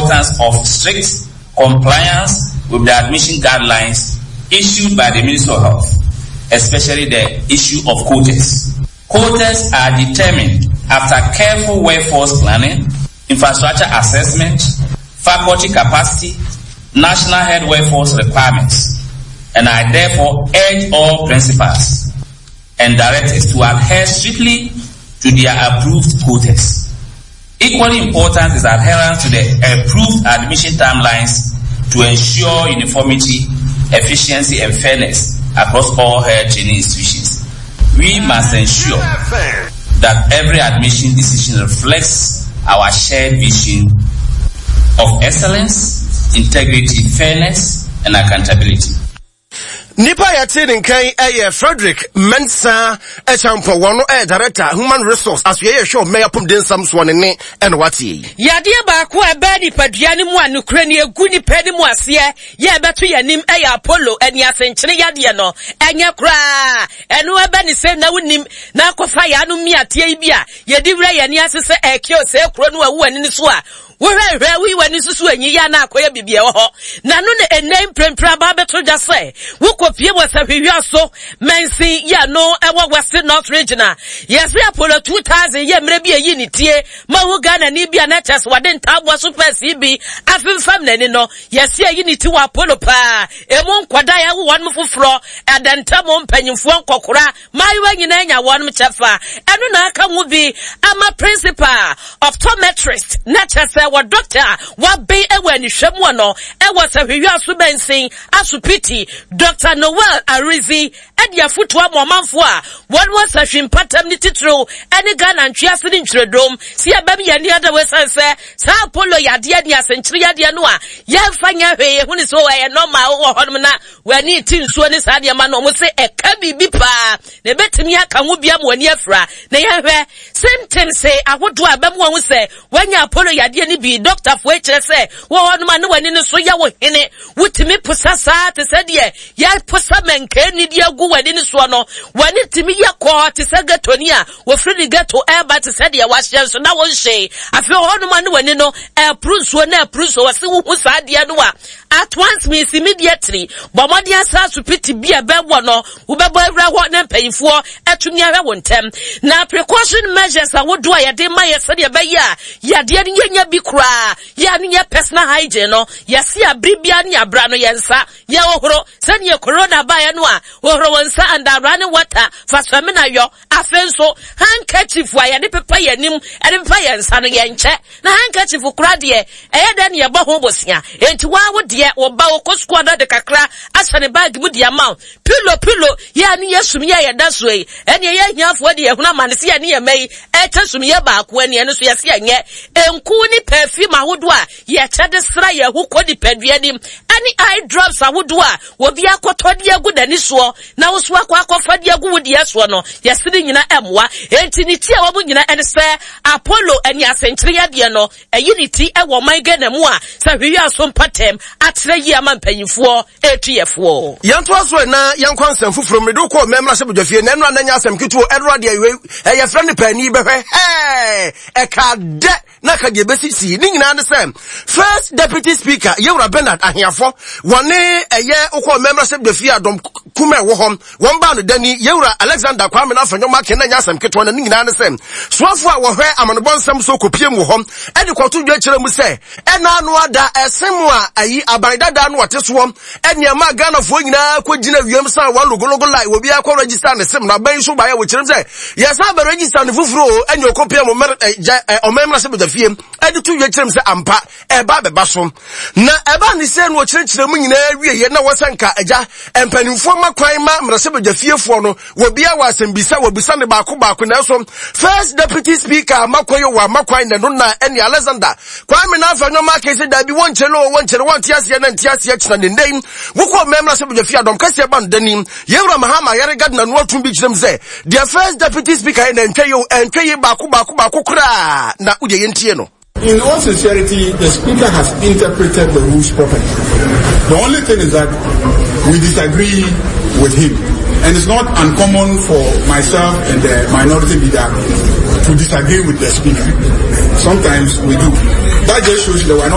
importance of strict compliance with the admission guidelines issued by the Ministry of Health, especially the issue of quotas. Quotas are determined after careful workforce planning, infrastructure assessment, faculty capacity, national head workforce requirements, and I therefore urge all principals and directors to adhere strictly to their approved quotas. Equally important is adherence to the approved admission timelines to ensure uniformity, efficiency, and fairness across all health training institutions. We must ensure that every admission decision reflects our shared vision of excellence, integrity, fairness, and accountability. Nipa a yɛte ne nkan yɛ Frederick Mensah Acheampong, wɔn no yɛ Director Human Resource asoɛeɛ a ɛhwɛ ɔman apɔmuden nsɛm soɔ ne ne ɛna wateɛ yi. Yadeɛ baako a ɛbaa nipadua no mu a nokorɛ ni ɛgu nipa anim aseɛ yɛ ɛbɛto yɛn anim yɛ Apollo aniasenkyene yadeɛ no. Ɛnyɛ koraa ɛno ɛbɛ ne sɛ na wonim na akɔfa yɛn ano mmiateɛ yi bi a yɛde wura yɛn ani ase sɛ ɛkeo sɛ kuro no awu w'ani no so a Wohwɛ hwɛ woyi w'ani susu enyi yɛ na akɔyɛ biribi ɛwɔ hɔ. Na no na ɛnnɛ mprempren aba abɛto dwa sɛ wokɔpie wɔ sahwehwia so mansin yɛ no ɛwɔ West North Region a yɛse Apollo 2000 yɛ mmerɛ bi ɛyi ne tie ma hu Ghanani bi a na kyerɛ sɛ wɔde ntaaboa so pɛsee bi afemfam n'ani no yɛse ayi ne ti wɔ Apollo paa emu nkwadaa yɛawo wɔn foforɔ ɛdɛntɛm mpanyimfoɔ nkɔkora Mmaayewa nyinaa nya wɔn kyɛfa. Ɛno na aka ho bi ama principal optometrist, na kyerɛ sɛ wɔ dɔkta a waben wɔ anihwɛ mu no wɔ Sahwehwɛ Aso Asopiti, Dɔkta Noel Aridzi de afotu ama ɔmanfoɔ a wɔn wɔ sahwi mpatam ne titiriw ne Ghana ntwease ne ntwiredom sɛ yɛbɛm yɛn ani ada wɔ ɛsiane sɛ saa Apollo yadeɛ ne asenkyere yadeɛ no a yɛmfa nyɛ hwee yɛhu ne sɛ ɛyɛ normal wɔ hɔnom na W'ani te nsuo ne saa nneɛma no, wɔn se ɛka biribi paa na ebetumi aka ho bi ama w'ani afira. Na yɛhwɛ symptoms ahodoɔ a ɛbɛma wɔn sɛ wanya apollo yadeɛ no bi. Dɔktafoɔ kyerɛ sɛ wɔ hɔnom a ne w'ani no so yɛ wo hene, wotumi posa saa te sɛ deɛ yɛposa mɛnkaani de agu w'ani no soɔ no. W'ani tumi yɛ kɔɔ te sɛ ghetoni a wɔfiri ne ghetto ɛreba te sɛ deɛ wahyɛ nso na wonhyee. Afei wɔ hɔnom a ne w'ani no ɛporo nsuo na ɛporo nsuo. Wɔse wohu saa adeɛ no a At once means immediately. Bɔ mmɔden asra asopiti bi a ɛbɛn wɔ no. Wobɛbɔ awura hɔ na mpanyinfoɔ atumi ahwɛ wo ntɛm. Na precaution measures ahodoɔ a yɛde ma yɛ sɛdeɛ ɛbɛyɛ a yadeɛ no yɛnya bi koraa yɛ ano yɛ personal hygiene no yɛse abere biara ne abra no yɛn nsa yɛhohoro sɛdeɛ corona baeɛ no a hohoro wo nsa under running water fa samina yɔ Afei nso, handkerchief a yɛde pepa yɛn anim de pepa yɛn nsa no, yɛnkyɛ. Na handkerchief koraa deɛ, ɛyɛ dɛn na yɛbɔ ho bosea? Enti wo ara wo deɛ, wo ba ɔkɔ sukuu a na ɔde kakra ahyɛ ne baage mu de ama wo. Pillow, pillow, yɛ a ne yɛ sumiiɛ a yɛda soɔ yi, ɛnneɛ yɛn ahiafoɔ deɛ yɛhunu amane sɛ yɛne yɛn mma yi ɛrekyɛ sumiiɛ baako, ɛnneɛ ɛno nso yɛse ɛnyɛ. Nku ne perfume ahodoɔ a yɛkyɛ de sra yɛn ho kɔ nipadua anim, ɛne eye drops ahodoɔ a obi akɔtɔ de agu n'ani soɔ na wo so akɔ akɔfa de agu wo deɛ soɔ no, yɛse ne nyina mmoa. Enti ne ti a wɔn nyina ɛne sɛ Apollo ani asenkyere yadeɛ no, ɛyi ne ti ɛwɔ ɔman Ghana mu a sɛ hwehwɛ aso mpatɛm atrɛ yie ama mpanyinfoɔ ɛretu yɛ foɔ. Yɛntoa so na yɛnkɔ nsɛm foforɔ mu. Mede wo kɔɔ mmɛmmrahyɛbadwafie na ɛnora na ɛnyɛ asɛm ketewa o, ɛnora deɛ wei ɛyɛ frɛ no paani bɛhwɛ hɛɛ ɛkaa dɛ na ka deɛ ɛbɛsisi ne nyinaa ne sɛ first deputy speaker yɛwura Bernard Ahiafo wɔne ɛyɛ wokɔ mmɛmmrahyɛbadwafie a dɔm kuma ɛwɔ hɔ wɔn baa no dani yɛwura Alexander Kwame no afanyɔma aken na nyɛ asɛm ketewa na ne nyinaa ne sɛ soafo a wɔhwɛ amanobɔ nsɛm so kɔpie mu wɔ hɔ ɛde kɔto dwa kyerɛ mu sɛ ɛna ano ada ɛse mu a ayi aban dada no ɔte soɔ ɛne ɛma Ghanafoɔ nyinaa kɔgyina wiem san wɔn logologo lai obi akɔ register ne sem na aban so baeɛ wɔkyerɛm sɛ yɛsan bɛ register ne foforɔ o ɛne ɔkɔpia mu ɔman mmarahyɛ badwafie ɛde to dwa kyerɛm sɛ ampa ɛba bɛba so na ɛba ne sɛ no ɔkyerɛkyerɛ mu nyinaa wieɛ na wɔsɛ nka agya mpanimfoɔ ma kwan ma mmarahyɛ badwafiefoɔ no wɔbia wɔ asɛmbisa wɔbisa ne baako baako nanso first deputy speaker amakwa yi wɔ amakwan na no na ɛne Alexander Kwame na afɛ nneɛma aka sɛ daabi wɔnkyerɛ no wɔnkyerɛ wɔnte aseɛ na nte aseɛ kyena ne nnɛ yi wokɔ mmɛmra sɛ badwafie adɔm kɛseɛ ba no dani yɛwura Mahama yɛre Gardner no atum bi kyerɛ mu sɛ deɛ first deputy speaker yɛ na ɛntwa yi o ɛntwa yi baako baako baako koraa na wodeɛ yɛntie no. In all sincerity, the speaker has interpreted the rules properly. The only thing is that we disagree with him. And it's not uncommon for myself and the minority leader to disagree with the speaker. Sometimes we do. That just shows that we're not